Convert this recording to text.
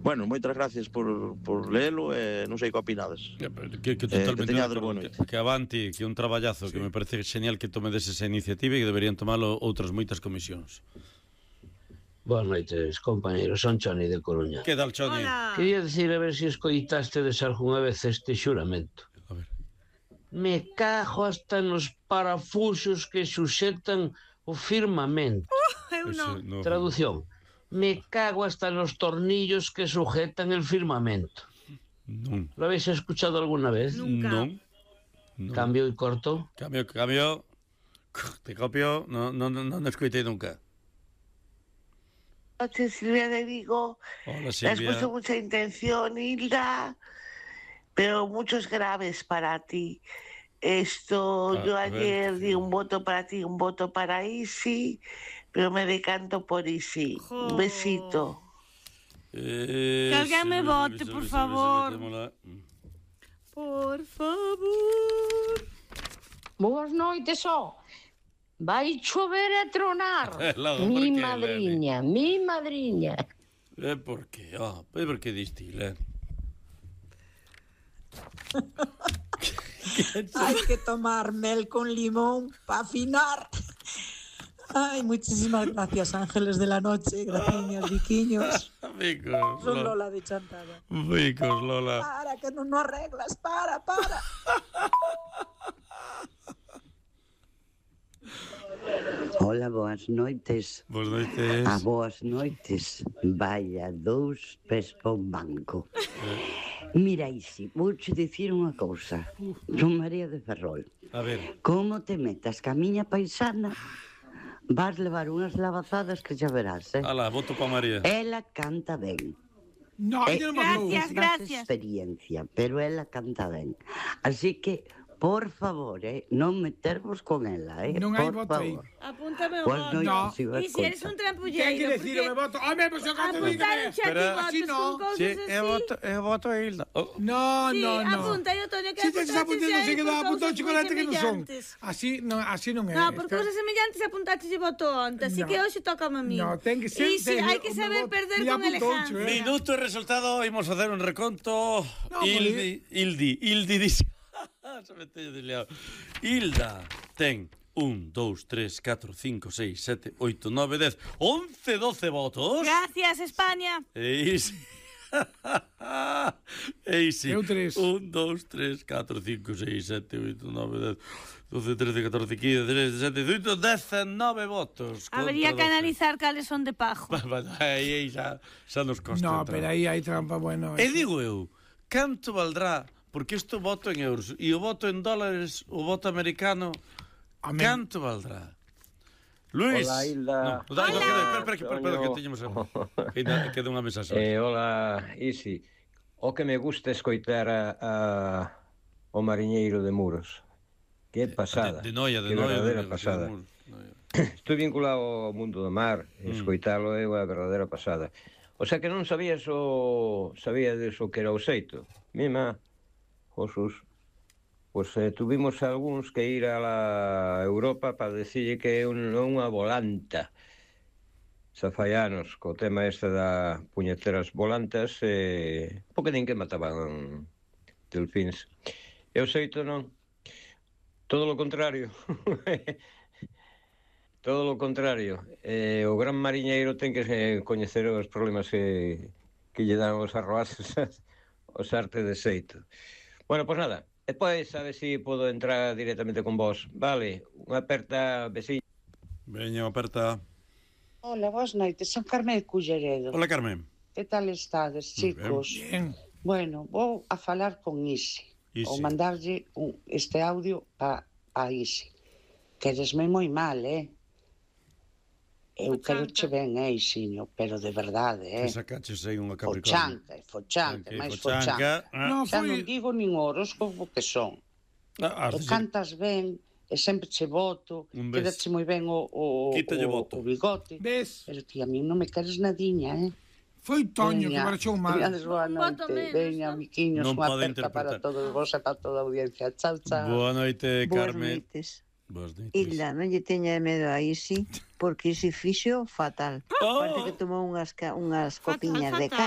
Bueno, moitas gracias por lelo e non sei que opinades. Que totalmente teñades boa noite. que avanti, que un traballazo, que me parece genial que tomedes esa iniciativa e que deberían tomalo outras moitas comisións. Boas noites, compañeros, son Choni de Coruña. Que tal, Choni? Quería decir a ver se escoitastedes algunha vez este xuramento. A ver. Me cago hasta nos parafusos que suxetan o firmamento. Eu non. Traducción. Me cago hasta los tornillos que sujetan el firmamento. Non. ¿Lo habéis escuchado alguna vez? Nunca. Non. Cambio y corto. Cambio. Te copio. Non escoitei nunca. Noche, Silvia de Vigo. Hola, Has Silvia. puesto mucha intención, Hilda, pero muchos graves para ti. Yo ayer di un voto para ti, un voto para Isi, pero me decanto por Isi. Un besito. Que alguén me vote, por favor. Por favor. Boas noites, ó. Vai chover e tronar. Logo, Mi por que, madriña. Por que? Por que distila? Hay que tomar mel con limón para afinar. Ay, muchísimas gracias, ángeles de la noche. Gracias, viquiños. Vicos, Son Lola de Chantada. Vicos, Lola. Para, que no arreglas. Para. Hola, boas noites. Boas noites. Boas noites. Vaya, 2 pés pa un banco. Mira, Isi, vouche dicir unha cousa. Son María de Ferrol. A ver. Como te metas ca miña paisana, vas levar unhas lavazadas que xa verás, Alá, voto pa María. Ela canta ben. No, Gracias. Experiencia, pero ela canta ben. Así que, por favor, non metervos con ela, Non hai por voto aí. favor. Apúntame o Boas voto. noites, Iba E se eres un trampulleiro, Ten que decir o meu voto. Home, pois eu canto de apuntar un chat de Así votos no. con cousas así. Eu voto a Hilda. No. Apunta, eu teño que Si te estás apuntando, apuntar se queda apuntado chocolate que non son. semellantes. Así non é. No, por cousas semellantes apuntaste de voto onte, así No. que hoxe toca a mí. No, ten que ser... E si hai que saber perder con elegancia. Minuto e resultado, imos facer un reconto. No, Hildi dixe. Se me teño desliado. Hilda ten 1, 2, 3, 4, 5, 6, 7, 8, 9, 10, 11, 12 votos. Gracias, España. Eisi. Eu 3. 1, 2, 3, 4, 5, 6, 7, 8, 9, 10, 12, 13, 14, 15, 16, 17, 18, 19 votos. Habería que analizar cales son de pajo. Aí xa nos costa. No, pero aí hai trampa, bueno. E digo eu, canto valdrá? Porque isto voto en euros e o voto en dólares, o voto americano, canto valdrá? Luis. Hola, Hilda. Espera, que teñemos queda unha mensaxe. Hola, Isi. O que me gusta escoitar o mariñeiro de Muros. Que pasada. De Noia, que verdadeira pasada. Estou vinculado ao mundo do mar, escoitalo é unha verdadeira pasada. O sea que non sabías sabíades o que era o xeito. Mima, Josus, pois tuvimos algúns que ir a la Europa para decirlle que é unha volanta. Xa fai anos, co tema este da puñeteras volantas, porque nin que mataban delfíns. E o xeito non. Todo lo contrario. Todo lo contrario. O gran mariñeiro ten que coñecer os problemas que lle dan os arroaces os arte de xeito. Bueno, pois nada, despois a ver se podo entrar directamente con vos. Vale, unha aperta, besiño. Veña, aperta. Hola, boas noites, son Carmen de Culleredo. Hola, Carmen. Que tal estades, chicos? Bien. Bueno, vou a falar con Isi. Ou mandarlle este audio a Isi. Queresme moi mal, Eu quero che ben, Isiño, pero de verdade, Que sacaches aí unha Capricornio. Fochanca, máis fochanca. Xa non digo nin horóscopo que son. E cantas ben, e sempre che voto, quedache moi ben o bigote. Ves? Pero ti a mí non me queres nadiña, Foi Toño que marchou mal. Boa noite, veña, miquiños, unha aperta para todos vos e para toda a audiencia. Chao, chao. Boa noite, Carmen. Boas noites. Hilda, non lle teña medo a Isi, porque Isi fixo fatal. Parece que tomou unhas copiñas de caña.